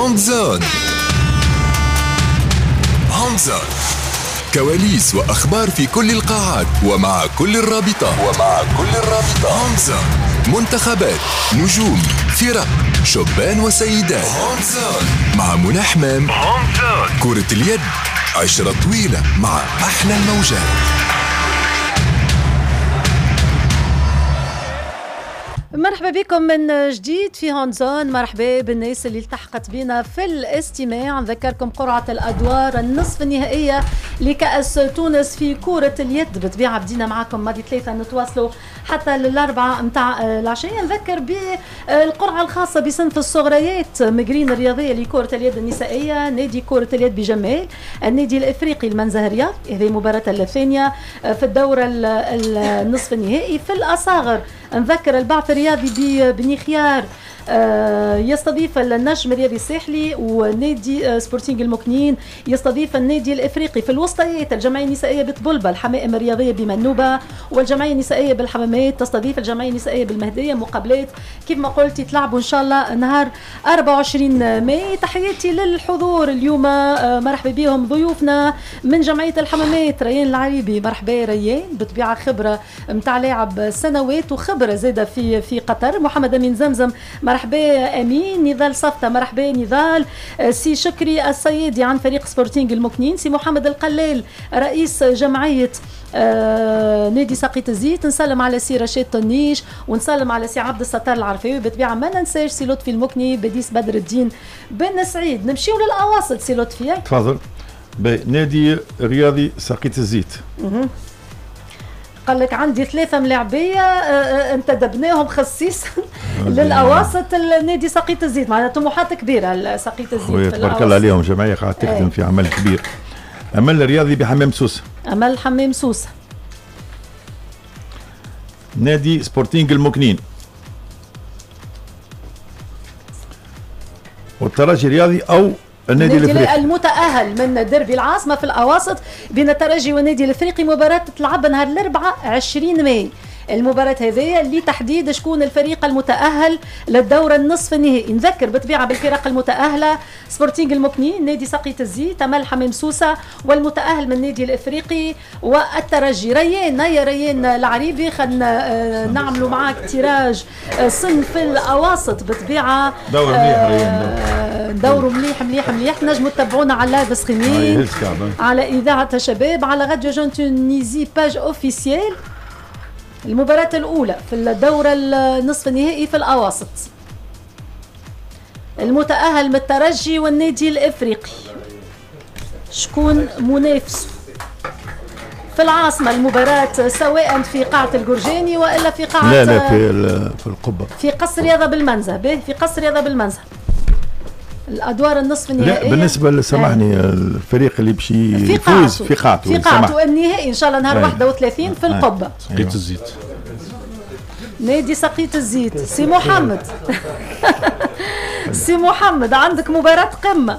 Hand Zone. Hand Zone، كواليس وأخبار في كل القاعات ومع كل الرابطة. Hand Zone، منتخبات، نجوم، فرق، شبان وسيدات. Hand Zone مع منى حمام. Hand Zone، كرة اليد، عشرة طويلة مع أحلى الموجات. مرحبا بكم من جديد في Hand Zone. مرحبا بالناس اللي التحقت بنا في الاستماع. نذكركم قرعة الأدوار النصف النهائية لكأس تونس في كرة اليد. بالطبيعة بدينا معكم ماضي ثلاثة، نتواصلوا حتى للأربعة متاع العشية. نذكر بالقرعة الخاصة بصنف الصغريات مقرين الرياضية لكرة اليد النسائية، نادي كرة اليد بجمال، النادي الإفريقي المنزه الرياض، هذه المباراة الثانية في الدورة النصف النهائي. في الأصاغر نذكر البعث الرياضي ببني خيار يستضيف النجم الرياضي الساحلي، ونادي سبورتينغ المكنين يستضيف النادي الافريقي. في الوسطيات الجمعية النسائية بطبلبه، الحمائم الرياضية بمنوبه، والجمعية النسائية بالحمامات تستضيف الجمعية النسائية بالمهديه. مقابلات كيف ما قلت يتلعبوا ان شاء الله نهار 24 ماي. تحياتي للحضور اليوم، مرحبا بهم ضيوفنا من جمعية الحمامات، ريان العريبي. مرحبا ريان، بطبيعة خبره نتاع لاعب سنوات وخبره زاده في قطر. محمد امين زمزم، مرحبا امين. نضال صفته، مرحبا نضال. سي شكري الصيادي عن فريق سبورتينغ المكنين. سي محمد القلال رئيس جمعية نادي ساقية الزيت. نسلم على سي رشيد طنيش، ونسلم على سي عبد الستار العرفاوي. بالطبيعة ما ننساش سي لطفي المكني، بديس بدر الدين بن سعيد. نمشيو للاواصل سي لطفي، تفضل. نادي رياضي ساقية الزيت قال لك عندي ثلاثة ملاعبية انتدبناهم خصيصا للأواسط النادي ساقية الزيت، معناها طموحات كبيرة ساقية الزيت. تبارك الله عليهم، جمعية قاعدة تخدم في عمل كبير. أمل الرياضي بحمام سوسة. أمل حمام سوسة. نادي سبورتينغ المكنين. والترجي الرياضي أو النادي الافريقي المتأهل من ديربي العاصمة في الأواسط بين الترجي والنادي الافريقي. مباراة تتلعب نهار الأربعاء 20 ماي. المباراة هذه لتحديد شكون الفريق المتأهل للدور النصف النهائي. نذكر بالطبيعة بالفرق المتأهلة: سبورتينغ المكنين، نادي ساقية الزيت، أمل حمام سوسة، والمتأهل من النادي الافريقي والترجي. ريان، يا ريان العريبي، خلينا نعملوا معاك tirage صنف الأواسط. بالطبيعة دور مليح ريان، دوروا مليح مليح مليح. نجموا تتبعونا على live streaming على إذاعة شباب، على Radio Jeune Tunisie page officielle. المباراة الأولى في الدورة النصف النهائي في الأواسط، المتأهل من الترجي والنادي الإفريقي، شكون منافسه في العاصمة؟ المباراة سواء في قاعة الجرجاني وإلا في قاعة لا لا في القبة، في قصر رياضة بالمنزه. به في قصر رياضة بالمنزه الأدوار النصف النهائية. لا بالنسبة سامحني، الفريق اللي باش يفوز في قاعته، في قاعته النهائي إن شاء الله نهار 31 في القبة. ساقية الزيت، نادي ساقية الزيت. سي محمد سي محمد، عندك مباراة قمة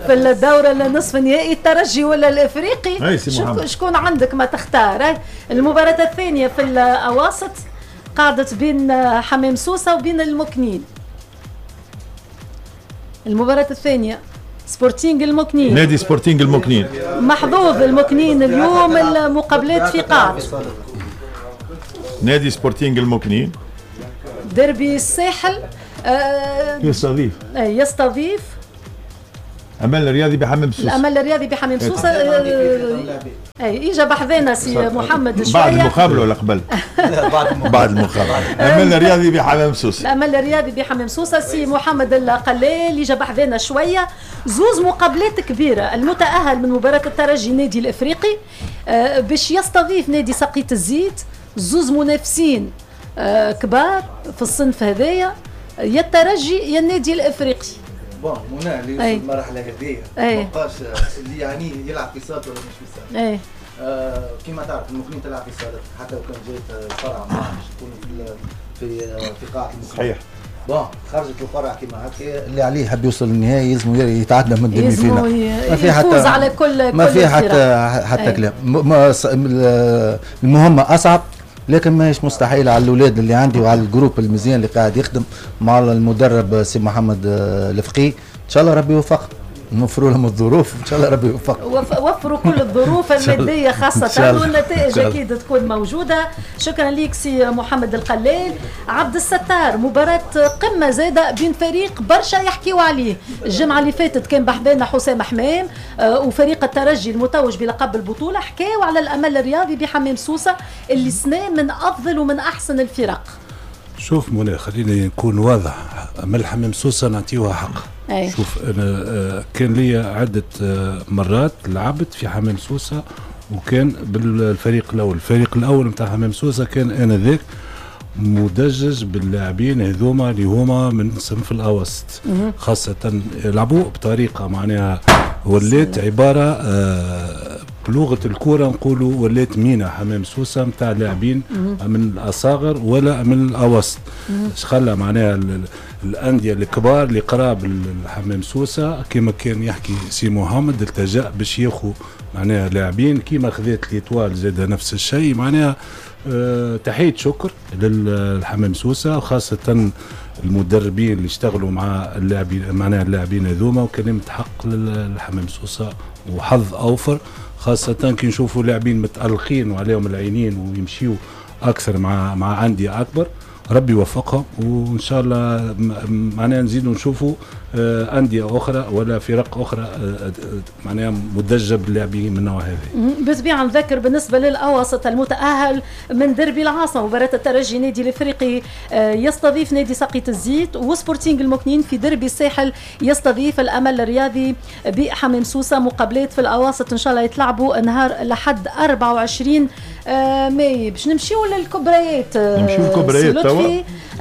في الدورة النصف النهائي، الترجي ولا الإفريقي؟ شكون عندك ما تختار؟ المباراة الثانية في الأواسط قعدت بين حمام سوسة وبين المكنين. المباراة الثانية سبورتينغ المكنين، نادي سبورتينغ المكنين. محظوظ المكنين اليوم، المقابلات في قاعة نادي سبورتينغ المكنين. ديربي الساحل يستضيف يستضيف أمل الرياضي بحمام سوسة. الأمل الرياضي بحمام سوسة. اي اجا بحذانا سي محمد شوية. بعد المقابلة ولا قبل؟ لا بعد المقابلة. الأمل الرياضي بحمام سوسة. الأمل الرياضي بحمام سوسة. سي محمد القلال اجا بحذانا شوية. زوز مقابلات كبيرة، المتأهل من مباراة الترجي نادي الافريقي باش يستضيف نادي ساقية الزيت، زوز منافسين كبار في الصنف هذايا، يا الترجي يا النادي الافريقي. bon منى اللي يوصل المرحلة هذه ما بقاش اللي يعني يلعب في صالته ولا مش في صالته. كيما تعرف المكنين تلعب في صالته، حتى لو كان جات القرعة معاه باش تكون في قاعة المكنين. صحيح. bon خرجت القرعة كيما هكا، اللي عليه حب يوصل للنهائي يلزم يتعدى من ال demi-finale. ما في حتى على كل ما في حتى كلام. المهمة اصعب، لكن ماهيش مستحيلة على الاولاد اللي عندي وعلى ال groupe المزيان اللي قاعد يخدم مع المدرب سي محمد الفقي. شاء الله ربي يوفق، نوفروا لهم الظروف، ان شاء الله ربي يوفق. وفروا كل الظروف المادية خاصة، والنتائج اكيد تكون موجودة. شكرا لك سي محمد القلال. عبد الستار، مباراة قمة زاده بين فريق برشا يحكيوا عليه، الجمعة اللي فاتت كان بحذانا حسام حمام وفريق الترجي المتوج بلقب البطولة، حكاوا على الامل الرياضي بحمام سوسة اللي سنة من افضل ومن احسن الفرق. شوف منى، خليني نكون واضح، امل حمام سوسة نعطيوها حق. أي. شوف انا كان لي عده مرات لعبت في حمام سوسة، وكان بالفريق الاول، الفريق الاول نتاع حمام سوسة كان انذاك مدجج باللاعبين هذوما اللي هما من صنف الاوسط، خاصة لعبوا بطريقة معناها ولات عبارة بلغه الكورة نقولوا ولات مينا حمام سوسة نتاع لاعبين من الاصاغر ولا من الاوسط. اش خلى معناها الاندية الكبار اللي قراب الحمام سوسة كما كان يحكي سي محمد التجأ باش ياخذ معناها لاعبين كيما خذات l'Étoile زاد نفس الشيء. معناها تحية شكر للحمام سوسة وخاصة المدربين اللي اشتغلوا مع اللاعبين معناها اللاعبين هذوما، وكلمه حق للحمام سوسة وحظ اوفر، خاصة كي نشوفوا لاعبين متألقين وعليهم العينين ويمشيوا اكثر مع اندية اكبر. ربي يوفقهم وان شاء الله معناها نزيدوا نشوفوا اندية اخرى ولا فرق اخرى معناها مدجه باللاعبين من النوع هذا. بالطبيعة نذكر بالنسبة للاوسط المتاهل من دربي العاصمة، مباراة الترجي نادي الافريقي يستضيف نادي ساقية الزيت، وسبورتينغ المكنين في دربي الساحل يستضيف الامل الرياضي بحمام سوسة. مقابلات في الاواسط ان شاء الله يتلعبوا نهار لحد 24 ماي. باش نمشيو للكبريات، نمشيو للكبريات توا.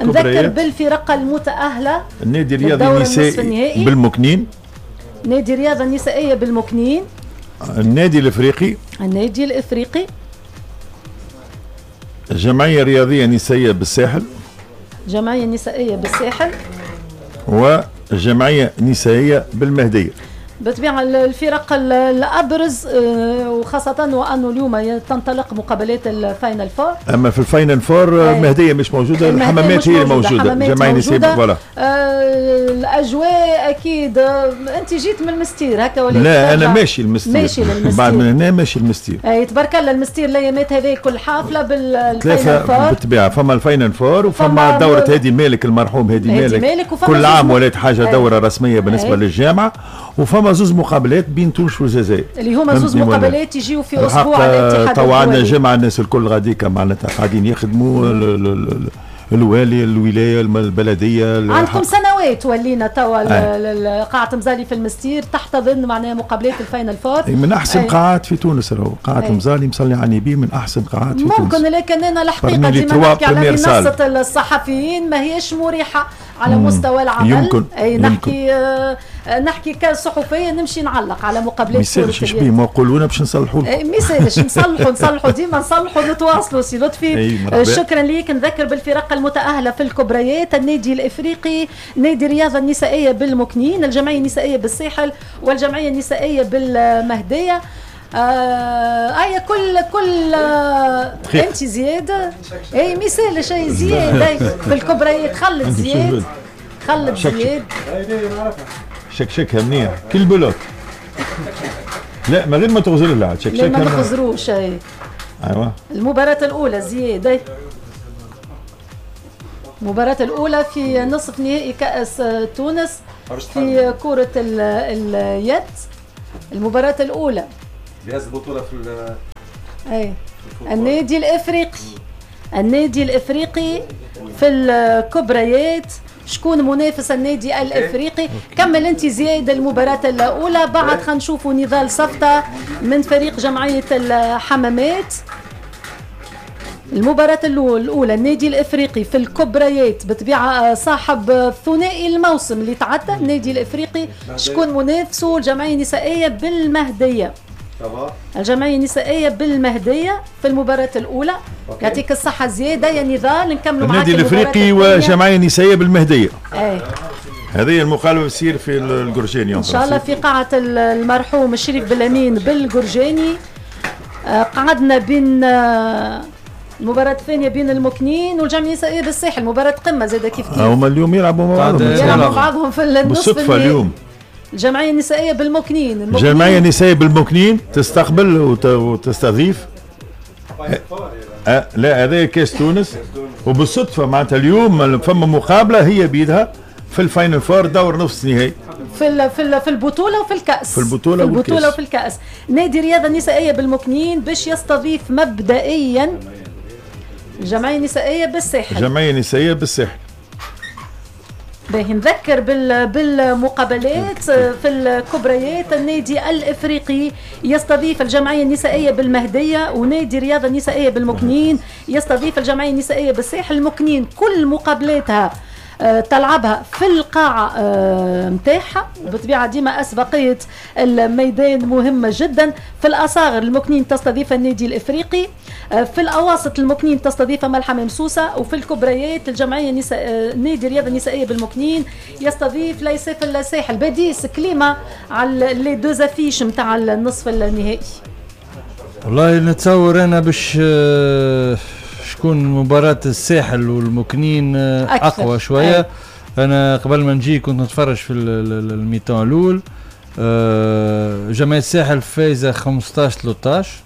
نذكر بالفرق المتأهلة: النادي الرياضي النسائي بالمكنين، نادي الرياضة النسائية بالمكنين، النادي الافريقي، النادي الافريقي، الجمعية الرياضية النسائية بالساحل، جمعية نسائية بالساحل، والجمعية النسائية بالمهدية. بالطبيعة الفرق الأبرز، وخاصة وأنه اليوم تنطلق مقابلات ال final four. أما في ال final four المهدية مش موجودة، الحمامات هي الموجودة، جمعية نسائية voilà. الأجواء أكيد. أنت جيت من المستير هكا ولا؟ لا أنا ماشي المستير، ماشي للمستير بعد من هنا، ماشي المستير. أي تبارك الله المستير الأيامات هذه كل حافلة بال final four. بالطبيعة فما ال final four وفما دورة هادي مالك المرحوم هادي مالك، كل عام ولات حاجة دورة رسمية بالنسبة للجامعة، وفما زوز مقابلات بين تونس والجزائر اللي هما زوز مقابلات يجيو في اسبوع الاتحاد. توا عندنا جمعه الناس الكل غاديكا معناتها قاعدين يخدموا، الوالي، الولاية، البلدية. عندكم سنوات ولينا توا قاعة مزالي في المستير تحتضن معناها مقابلات ال final four. من احسن قاعات في تونس راهو قاعة مزالي مصلي على النبي، من احسن قاعات في تونس ممكن. لكن انا الحقيقة ديما نحكي على منصة الصحفيين ما هيش مريحه على مستوى العمل. يمكن. اي نحكي نحكي كصحفيه نمشي نعلق على مقابلات. ما يسالش بيه ما يقولونا باش نصلحوا. ما يسالش نصلحوا ديما نصلحوا نتواصلوا. سي لطفي شكرا ليك. نذكر بالفرق المتأهلة في الكبريات: النادي الافريقي، نادي الرياضة النسائية بالمكنين، الجمعية النسائية بالساحل، والجمعية النسائية بالمهدية. اي كل انت زياد اي ما يسالش اي زياد في الكبريات. خلت زياد، خلت زياد شكشكها منيح كل bloc. لا ما غير ما تغزر لها شكشكها، ما نخزروش. اي ايوه. المباراة الأولى زياد، المباراة الأولى في نصف نهائي كأس تونس في كرة اليد، المباراة الأولى جهاز البطولة في اي النادي الإفريقي، النادي الإفريقي في الكبريات. شكون منافس النادي الافريقي؟ كمل انت زياد المباراة الاولى، بعد خلينا نشوفوا نضال صفطه من فريق جمعية الحمامات. المباراة الاولى النادي الافريقي في الكبريات، بالطبيعة صاحب ثنائي الموسم اللي تعدى النادي الافريقي، شكون منافسه؟ الجمعية النسائية بالمهديه. الجمعية النسائية بالمهديه في المباراة الاولى. يعطيك الصحة زيادة يا نضال. نكملوا معاك النادي الافريقي وجمعية نسائية بالمهديه. اي هذه المقابلة بتصير في القرجاني ان شاء الله في قاعة المرحوم الشريف بالامين بالقرجاني. قعدنا بين المباراة الثانية بين المكنين والجمعية النسائية بالساحل، مباراة قمة زادة كيف كيف. هما اليوم يلعبوا مع بعضهم، يلعبوا مع بعضهم في النصف بالصدفة اليوم. الجمعية النسائية بالمكنين. الجمعية النسائية بالمكنين تستقبل وتستضيف. لا هذا كاس تونس، وبالصدفه معناتها اليوم فما مقابله هي بيدها في ال final four دور نصف نهائي في البطولة وفي الكاس. في البطولة والكاس. في الكاس. نادي الرياضة النسائية بالمكنين باش يستضيف مبدئيا الجمعية النسائية بالساحل. الجمعية النسائية بالساحل. باهي، نذكر بالمقابلات في الكبريات. النادي الافريقي يستضيف الجمعية النسائية بالمهديه، ونادي الرياضة النسائية بالمكنين يستضيف الجمعية النسائية بالساحل. المكنين كل مقابلاتها تلعبها في القاعة متاعها، وبالطبيعة ديما أسبقية الميدان مهمة جدا. في الأصاغر المكنين تستضيف النادي الإفريقي، في الأواسط المكنين تستضيف ملحمة مسوسة، وفي الكبريات الجمعية نادي الرياضة النسائية بالمكنين يستضيف ليساف الساحل. باديس كليمة على les deux affiches نتاع النصف النهائي. والله نتصور أنا باش شكون مباراة الساحل والمكنين أقوى شوية. أي. أنا قبل ما نجي كنت نتفرج في ال mi-temps الأول. جمعية الساحل فايزة 15-13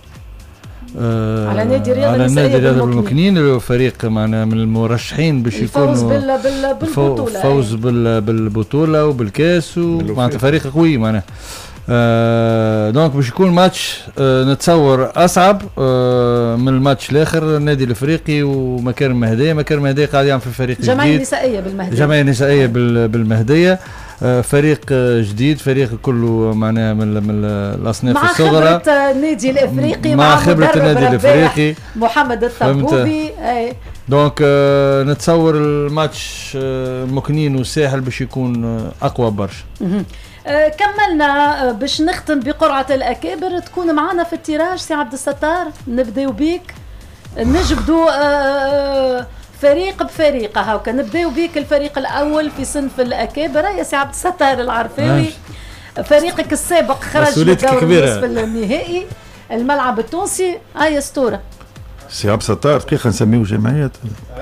على نادي الرياضة بالمكنين، اللي هو فريق معنا من المرشحين باش يكونوا بالبطولة، فوز بالبطولة وبالكاس، ومعناتها فريق قوي معناها. donc باش يكون ماتش نتصور اصعب من الماتش الاخر. النادي الافريقي ومكارم المهدية، مكارم المهدية قاعد يعمل في فريق جديد، جمعية نسائية بالمهديه، جمعية نسائية بالمهديه، فريق جديد، فريق كله معناها من الاصناف الصغرى، مع خبره النادي الافريقي، مع خبره النادي الافريقي محمد الطبوبي. donc نتصور الماتش مكنين والساحل باش يكون اقوى برشا. كملنا باش نختم بقرعة الأكابر. تكون معنا في ال tirage سي عبد الستار، نبداو بيك، نجبدو فريق بفريق. هاكا نبداو بيك الفريق الأول في صنف الأكابر يا سي عبد الستار العرفاوي. فريقك السابق خرج من الدور النصف النهائي الملعب التونسي. هيا ستورة سي عبد الستار، دقيقة نسميو جمعية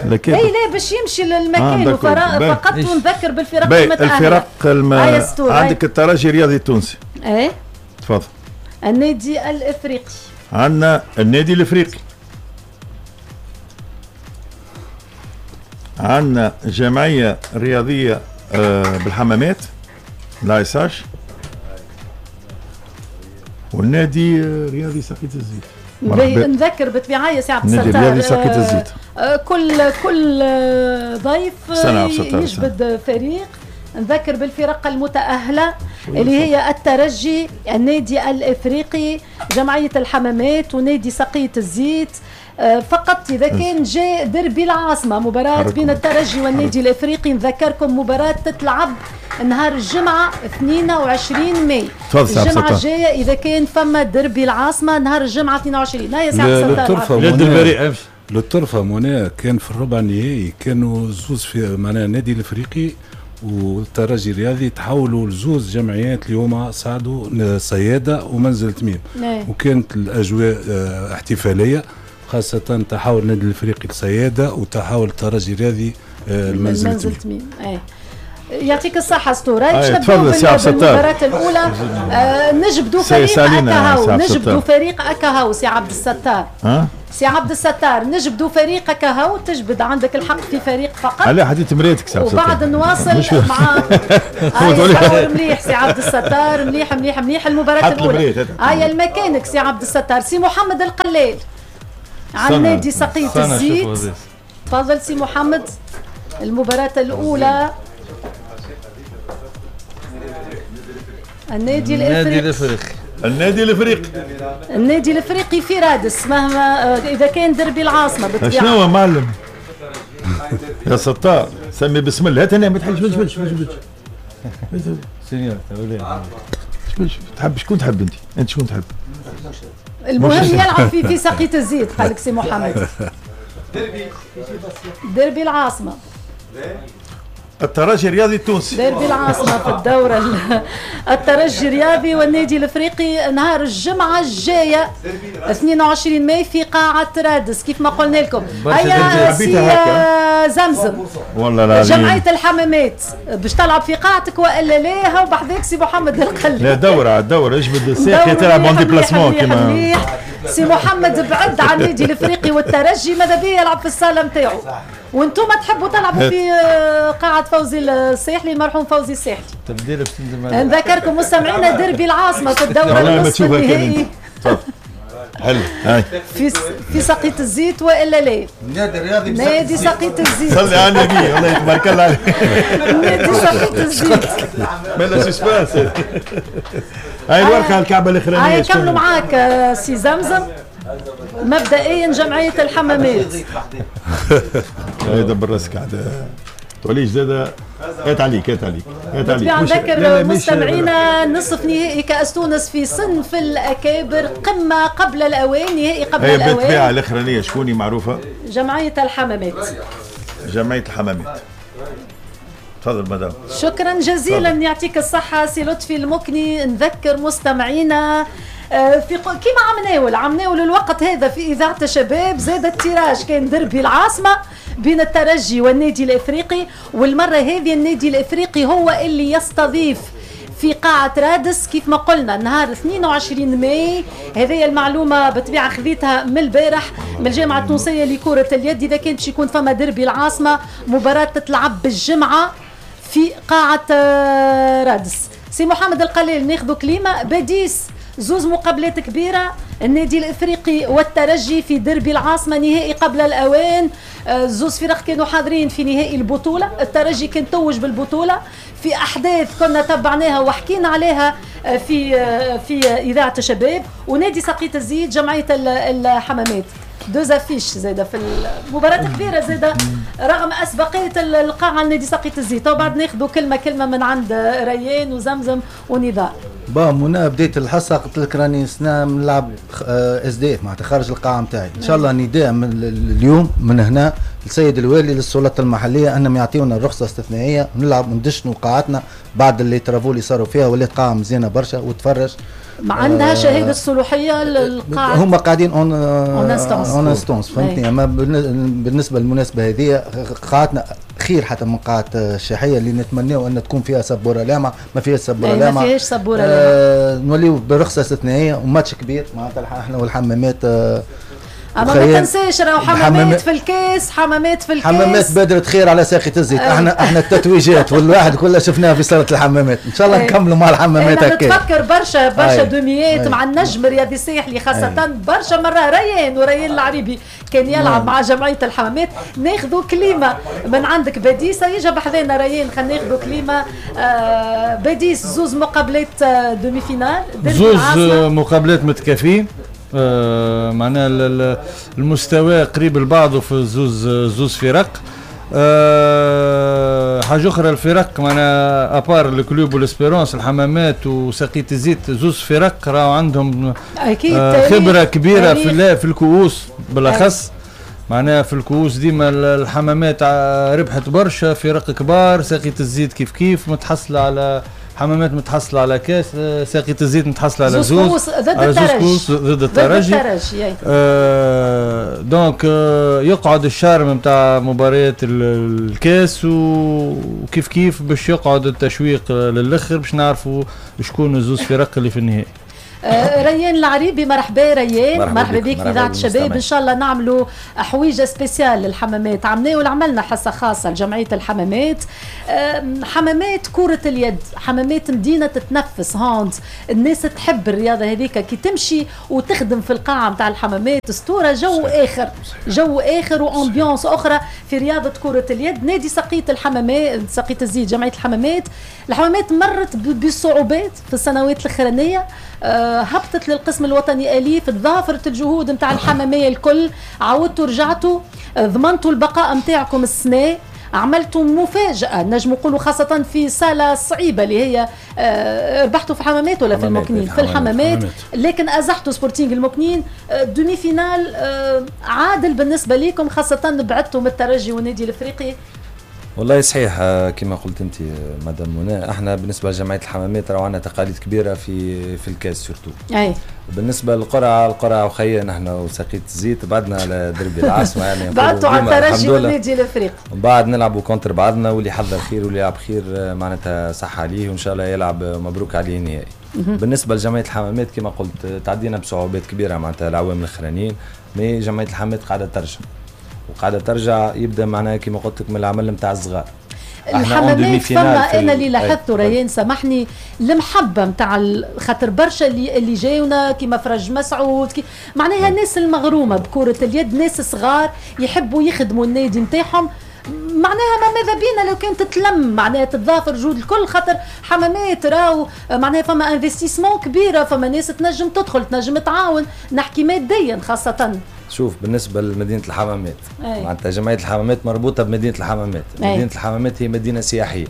الأكابر. اي لا باش يمشي للمكان فقط. ونذكر بالفرق المتأهلة. الفرق عندك الترجي الرياضي التونسي. ايه تفضل. النادي الافريقي. عندنا النادي الافريقي، عندنا جمعية رياضية بالحمامات لايساش، والنادي الرياضي ساقية الزيت. نذكر بالطبيعة يا سي عبد الستار كل ضيف يجبد فريق. نذكر بالفرق المتأهلة اللي هي الترجي، النادي الإفريقي، جمعية الحمامات، ونادي سقية الزيت. فقط إذا كان جاء دربي العاصمة، مباراة بين الترجي والنادي الإفريقي، نذكركم مباراة تتلعب نهار الجمعة 22 ماي. الجمعة الجاية إذا كان فما دربي العاصمة نهار الجمعة 22. هيا سي عبد الستار. للطرفة منى كان في الربع النهائي كانوا زوز في معناها النادي الإفريقي والترجي الرياضي تحولوا لزوز جمعيات اليوم صعدوا، صيادة ومنزل تميم. وكانت الأجواء احتفالية، خاصة تحول النادي الافريقي لصيادة وتحول الترجي الرياضي لمنزل تميم. يعطيك الصحة ستورة. باش نبداو بالمباراة الأولى. نجبدوا فريق أكاهو، نجبدوا فريق أكاهو سي عبد الستار. سي عبد الستار نجبدوا فريق أكاهو، تجبد عندك الحق في فريق فقط. علاه حديت مريتك سي عبد الستار. وبعد نواصل مع مليح سي عبد الستار، مليح مليح مليح. المباراة الأولى هيا المكانك سي عبد الستار. سي محمد القلال عن نادي سقية الزيت. تفضل سي محمد. المباراة الأولى النادي الافريقي. النادي الافريقي، النادي الافريقي في رادس، مهما اذا كان دربي العاصمة بالطبيعة. شنو معلم يا ستار، سمي بسم الله. هات هنا ما تحلش. مش سينيور تحب شكون تحب انت؟ انت شكون تحب؟ المهم يلعب في سقية الزيت قال لك سي محمد. دربي العاصمة. الترجي الرياضي التونسي، ديربي العاصمة في الدورة. الترجي الرياضي والنادي الافريقي نهار الجمعة الجاية 22 ماي في قاعة رادس كيف ما قلنا لكم. هيا سي زمزم، والله العظيم جمعية الحمامات باش تلعب في قاعتك والا لا؟ هاو بحذاك سي محمد القلي. لا دورة الدورة اجبد الساق تلعب en déplacement كيما سي محمد بعد عن النادي الافريقي والترجي، ماذا بيه يلعب في الصالة نتاعو، وانتم تحبوا تلعبوا في قاعة فوزي الساحلي، المرحوم فوزي الساحلي. تبديل نذكركم مستمعينا ديربي العاصمة في الدورة النصف النهائي. حلو هاي في سقية الزيت والا لا؟ النادي الرياضي، نادي سقية الزيت. صلي على النبي، والله تبارك الله عليك. نادي سقية الزيت. مالا suspense. هاي الورقة الكعبة الأخرانية. هاي كملوا معاك سي زمزم. مبدئيا جمعية الحمامات. هاي دبر راسك عاد توليش زاد. هات عليك هات عليك هات عليك. نذكر مستمعينا نصف نهائي كأس تونس في صنف الأكابر، قمة قبل الأوان، نهائي قبل الأوان. هي بالطبيعة الأخرانية شكوني معروفة؟ جمعية الحمامات. جمعية الحمامات. تفضل مدام. شكرا جزيلا، يعطيك الصحة سي لطفي المكني. نذكر مستمعينا في كيما عمناول الوقت هذا في إذاعة الشباب زاد ال tirage، كان دربي العاصمة بين الترجي والنادي الإفريقي، والمرة هذه النادي الإفريقي هو اللي يستضيف في قاعة رادس كيف ما قلنا نهار 22 ماي. هذه المعلومة بالطبيعة خذيتها من البارح من الجامعة التونسية لكرة اليد. إذا كان باش يكون فما دربي العاصمة، مباراة تتلعب بالجمعة في قاعة رادس. سي محمد القليل ناخذ كلمة. باديس زوز مقابلات كبيرة، النادي الافريقي والترجي في دربي العاصمة نهائي قبل الاوان. زوز فرق كانوا حاضرين في نهائي البطولة، الترجي كان توج بالبطولة في احداث كنا تبعناها وحكينا عليها في اذاعة الشباب، ونادي سقية الزيت جمعية الحمامات. deux affiches زاده في المباراة كبيرة زاده رغم اسبقيه القاعة لنادي سقية الزيت. وبعد ناخذوا كلمة كلمة من عند ريان وزمزم ونضال. با منى بديت الحصة قلت لك راني سنة نلعب SDF معناتها خارج القاعة نتاعي. ان شاء الله نداء من اليوم من هنا للسيد الوالي للسلطات المحلية انهم يعطيونا رخصه استثنائية ونلعب وندشنوا قاعتنا بعد les travaux اللي صاروا فيها، ولات قاعة مزيانه برشا وتفرج. ما عندها شهادة الصلاحية للقاعه، هما قاعدين en instance فهمتني. اما بالنسبة للمناسبه هذه قاعتنا خير حتى من قاعة الشاحيه اللي نتمناو ان تكون فيها سبورة لامعة، ما فيهاش سبورة لامعة، ما فيهاش سبورة لامعة. نوليو برخصه استثنائية وماتش كبير معناتها احنا والحمامات. اما ما تنساش راهو حمامات في الكاس، حمامات في الكاس، حمامات بادرة خير على ساقية الزيت. احنا التتويجات والواحد كلها شفناها في صالة الحمامات، ان شاء الله نكملوا مع الحمامات هكا. نتفكر برشا برشا demi ات مع النجم الرياضي الساحلي خاصة، برشا مرة ريان وريان العريبي كان يلعب مع جمعية الحمامات. ناخذوا كلمة من عندك باديس، يجي بحذانا ريان، خلينا ناخذوا كلمة. باديس زوز مقابلات demi-finale، زوز مقابلات متكافئين، معناها المستوى قريب لبعضه في زوز فرق. حاجة اخرى الفرق معناها à part ال Club وال Espérance، الحمامات وسقية الزيت زوز فرق راهو عندهم أكيد خبره كبيرة في الكؤوس بالاخص. معناها في الكؤوس ديما الحمامات ربحت برشا فرق كبار، سقية الزيت كيف كيف متحصله على حمامات متحصله على كاس، ساقية الزيت متحصله على زوز ضد الترجي، ضد الترجي. donc يقعد ال charme نتاع مباريات الكاس، وكيف كيف باش يقعد التشويق للاخر باش نعرفوا شكون الزوز فرق اللي في النهائي. ريان العريبي، مرحبا ريان، مرحبا بك في اذاعة الشباب. ان شاء الله نعملوا حويجه spéciale للحمامات، عملنا عملنا حصة خاصة لجمعية الحمامات. حمامات كره اليد، حمامات مدينة تتنفس hand، الناس تحب الرياضة هذيك كي تمشي وتخدم في القاعة نتاع الحمامات اسطورة، جو اخر، جو اخر و ambiance اخرى في رياضة كره اليد. نادي سقية الحمامات، سقية الزيت، جمعية الحمامات، الحمامات مرت بصعوبات في السنوات الاخرانية، هبطت للقسم الوطني أليف، تضافرت الجهود نتاع الحمامية الكل، عاودتوا رجعتوا ضمنتوا البقاء نتاعكم السنة، عملتوا مفاجأة نجم نقولوا خاصة في صالة صعيبة اللي هي ربحتوا في حمامات ولا في المكنين؟ في الحمامات، لكن أزحتوا سبورتينغ المكنين. demi-finale عادل بالنسبة لكم خاصة بعدتوا من الترجي والنادي الإفريقي. والله صحيح كما قلت انت مدام منى، احنا بالنسبة لجمعية الحمامات راهو عندنا تقاليد كبيرة في الكاس surtout. اي بالنسبة للقرعه، القرعة وخيا نحن وسقيت الزيت بعدنا على دربي العاصمة يعني بعدتوا على الترجي والنادي الافريقي، من بعد نلعبوا contre بعضنا، واللي حضر خير واللي يلعب خير معناتها صح عليه، وان شاء الله يلعب مبروك عليه النهائي. بالنسبة لجمعية الحمامات كما قلت تعدينا بصعوبات كبيرة معناتها العوام الاخرانيين، mais جمعية الحمامات قاعدة ترجع وقاعدة ترجع، يبدا معناها كما قلت لك من العمل نتاع الصغار. الحمامات فما انا اللي لاحظته ريان سامحني، المحبة نتاع خاطر برشا اللي جاونا كيما فرج مسعود معناها الناس المغرومه بكره اليد، ناس صغار يحبوا يخدموا النادي نتاعهم، معناها ما ماذا بينا لو كان تتلم معناها تتضافر جهود الكل، خاطر حمامات راهو معناها فما investissement كبيرة، فما ناس تنجم تدخل تنجم تعاون، نحكي ماديا خاصة. شوف بالنسبة لمدينة الحمامات معناتها جمعية الحمامات مربوطة بمدينة الحمامات. مدينة الحمامات هي مدينة سياحية.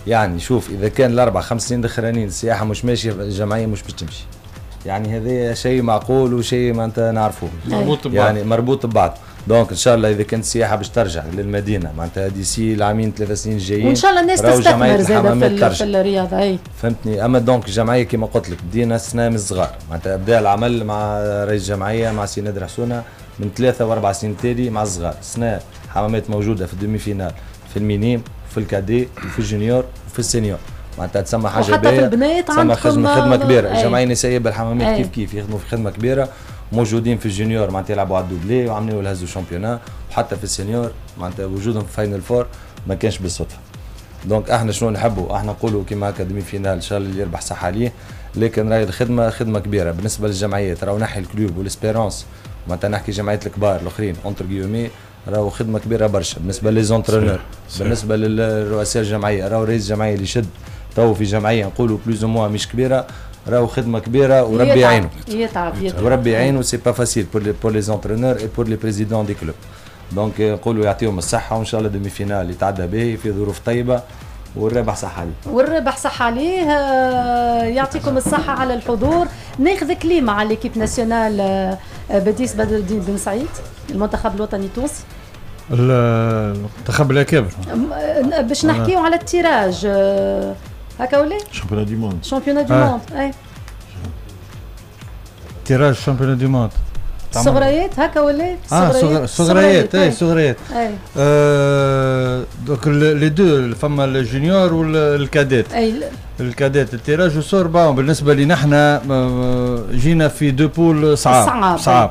يعني شوف اذا كان الاربع خمس سنين الاخرانيين السياحة مش ماشية، الجمعية مش باش تمشي، يعني هذا شيء معقول وشيء معناتها نعرفوه، مربوط ببعض، يعني مربوط ببعض. donc ان شاء الله اذا كانت السياحة باش ترجع للمدينة معناتها d'ici العامين 3 سنين الجايين، وان شاء الله الناس تستثمر زاده في الرياضة. اي فهمتني. اما donc الجمعية كما قلت لك بدينا السنة من الصغار، معناتها بدا العمل مع رئيس الجمعية مع سي نادر حسونه من 3 و4 سنين تالي مع الصغار. السنة حمامات موجودة في ال demi-finale، في ال minimes، في ال cadets، وفي ال junior، وفي ال senior، معناتها تسمى حاجة باهيه، وحتى في البنات عندكم خدمة كبيرة. الجمعية النسائية بالحمامات كيف كيف يخدموا في خدمة كبيرة، موجودين في ال junior معناتها يلعبوا على ال doublé وعملوا الهزوا championnat، وحتى في ال senior معناتها وجودهم في final four ما كانش بالصدفة. donc احنا شنو نحبوا؟ احنا نقولوا كيما هكا demi-finale ان شاء الله اللي يربح صح عليه، لكن راهي الخدمة خدمة كبيرة بالنسبة للجمعيات. راهو نحي ال Club وال Espérance معناتها نحكي جمعيات الكبار الاخرين entre guillemets، راهو خدمة كبيرة برشا بالنسبة les entraîneurs، بالنسبة للرؤساء الجمعية. راهو رئيس الجمعية اللي شد تو في جمعية نقولوا plus ou moins مش كبيرة، راهو خدمة كبيرة وربي يعينه، يتعب وربي يعينه. c'est pas facile pour les entraîneurs et pour les présidents des clubs. donc نقولوا يعطيهم الصحة، وان شاء الله demi-finale يتعدى به في ظروف طيبة، والربح صح عليه، والربح صح عليه. يعطيكم الصحة على الحضور. ناخذ كلمة على l'équipe nationale بديس بدر الدين بن سعيد، المنتخب الوطني التونسي، المنتخب الاكابر، باش نحكيو على ال tirage هكا ولا؟ championnat du monde، championnat du monde، اي tirage championnat du monde صغريات هكا ولا؟ صغريات، اي صغريات. donc les deux فما ال junior وال cadets. اي ال cadets ال tirage au sort bon بالنسبة لي نحن جينا في deux poules صعاب صعاب،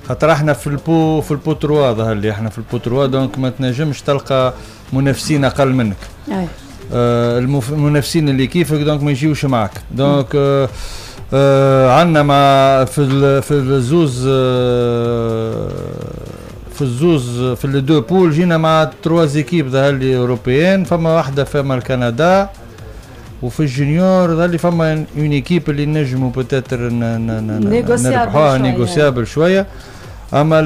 خاطر احنا في ال pot، في ال pot 3 ظهر لي احنا في ال pot 3، donc ما تنجمش تلقى منافسين اقل منك. اي المنافسين اللي كيفك donc ما يجيوش معك. donc عندنا مع في الزوز في ال deux poules جينا مع trois équipes ظهر لي européennes، فما واحدة فما الكندا، وفي ال junior ظهر لي فما une équipe اللي نجموا peut-être نربحوها négociable شوية. اما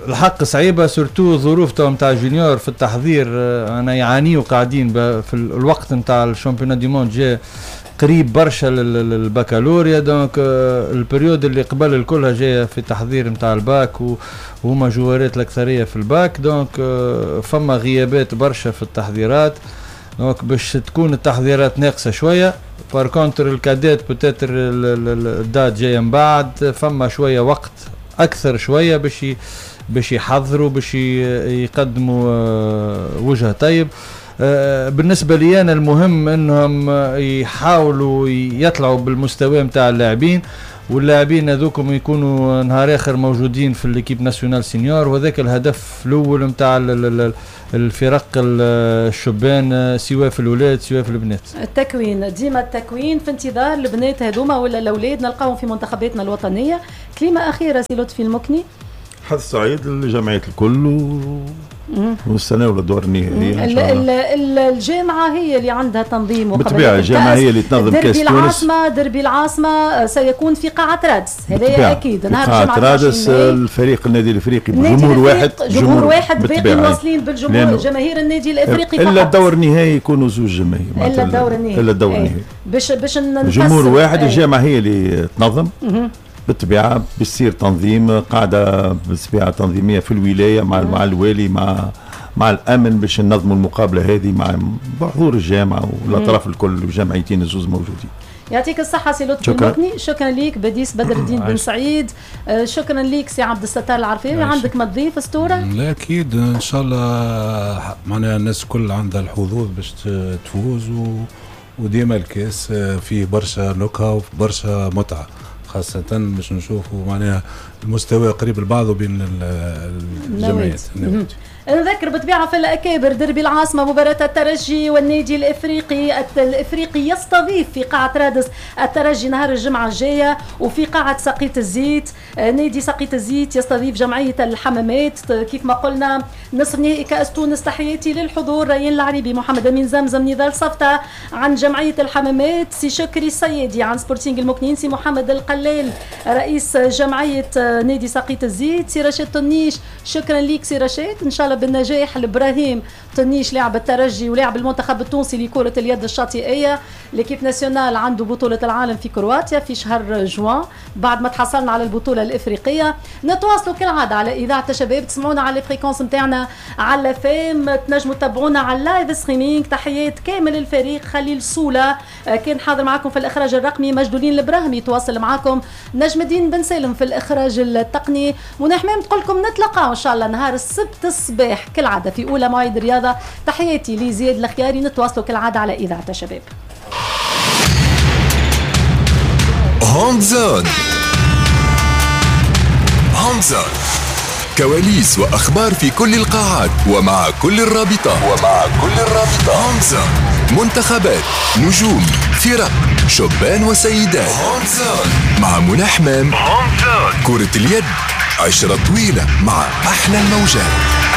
الحق صعيبة surtout الظروف تو نتاع junior في التحضير، انا يعانيوا قاعدين في الوقت نتاع ال championnat du monde جا قريب برشا للبكالوريا، donc ال période اللي قبل الكلها جاية في التحضير نتاع الباك، وهما جوارات الاكثرية في ال bac، donc فما غيابات برشا في التحضيرات، donc باش تكون التحضيرات ناقصه شوية. par contre ال cadets peut-être ال date جاية من بعد، فما شوية وقت اكثر شوية باش يحضروا، باش يقدموا وجه طيب. بالنسبة لي انا المهم انهم يحاولوا يطلعوا بالمستوى نتاع اللاعبين، واللاعبين هذوكم يكونوا نهار اخر موجودين في l'équipe nationale senior، وهذاك الهدف الاول نتاع الفرق الشبان سواء في الاولاد سواء في البنات. التكوين ديما التكوين في انتظار البنات هذوما ولا الاولاد نلقاهم في منتخباتنا الوطنية. كلمة اخيرة سي لطفي المكني. حظ سعيد لجمعية الكل والسنة ولا الدور النهائي ان شاء الله. الجامعة هي اللي عندها تنظيم، بالطبيعة الجامعة هي اللي تنظم كاس تونس. العاصمة دربي العاصمة سيكون في قاعة رادس، هذا اكيد نهار الجمعة قاعة رادس. الفريق النادي الافريقي بجمهور واحد، جمهور واحد، باقي واصلين بالجمهور جماهير النادي الافريقي فقط. الا الدور النهائي يكونوا زوج جماهير، الا الدور النهائي، الا الدور النهائي باش جمهور واحد. الجامعة هي اللي تنظم بالطبيعة، بيصير تنظيم قاعدة بالطبيعة تنظيميه في الولاية مع الوالي مع الامن باش ننظموا المقابلة هذه مع بحضور الجامعة والاطراف الكل والجمعيتين الزوز موجودين. يعطيك الصحة سي لطفي المكني، شكرا ليك بديس بدر الدين بن سعيد، شكرا ليك سي عبد الستار العرفاوي. عندك ما تضيف اسطورة؟ لا اكيد ان شاء الله معناها الناس الكل عندها الحظوظ باش تفوز، وديما الكاس فيه برشا نكهة وبرشا متعة، خاصة باش نشوفوا معناها المستوى قريب لبعضه بين الجمعيات. نذكر بالطبيعة في الأكابر دربي العاصمة مباراة الترجي والنادي الإفريقي، الإفريقي يستضيف في قاعة رادس الترجي نهار الجمعة الجاية، وفي قاعة سقية الزيت نادي سقية الزيت يستضيف جمعية الحمامات. كيف ما قلنا نصف نهائي كأس تونس. تحياتي للحضور ريان العريبي، محمد أمين زمزم، نضال صفتة عن جمعية الحمامات، سي شكري السيدي عن سبورتينغ المكنين، سي محمد القلال رئيس جمعية نادي سقية الزيت، سي رشيد طنيش، شكرا ليك سي رشيد، إن شاء الله بالنجاح لابراهيم طنيش لاعب الترجي ولاعب المنتخب التونسي لكرة اليد الشاطئية. l'équipe nationale عنده بطولة العالم في كرواتيا في شهر جوان بعد ما تحصلنا على البطولة الإفريقية. نتواصلوا كالعادة على إذاعة الشباب، تسمعونا على ال fréquences نتاعنا على FM، تنجموا تتابعونا على ال live streaming. تحيات كامل الفريق، خليل سولة كان حاضر معكم في الإخراج الرقمي، مجدولين الإبراهيمي تواصل معكم، نجم الدين بن سالم في الإخراج التقني. منى حمام تقول لكم نتلاقاو إن شاء الله نهار السبت الصباح كالعادة في أولى مواعيد الرياضة. تحياتي لزياد الخياري، نتواصلوا كالعادة على إذاعة الشباب. Hand Zone، Hand Zone، كواليس وأخبار في كل القاعات ومع كل الرابطة، Hand Zone، منتخبات، نجوم، فرق، شبان وسيدات. Hand Zone مع منى حمام. كرة اليد عشرة طويلة مع أحلى الموجات.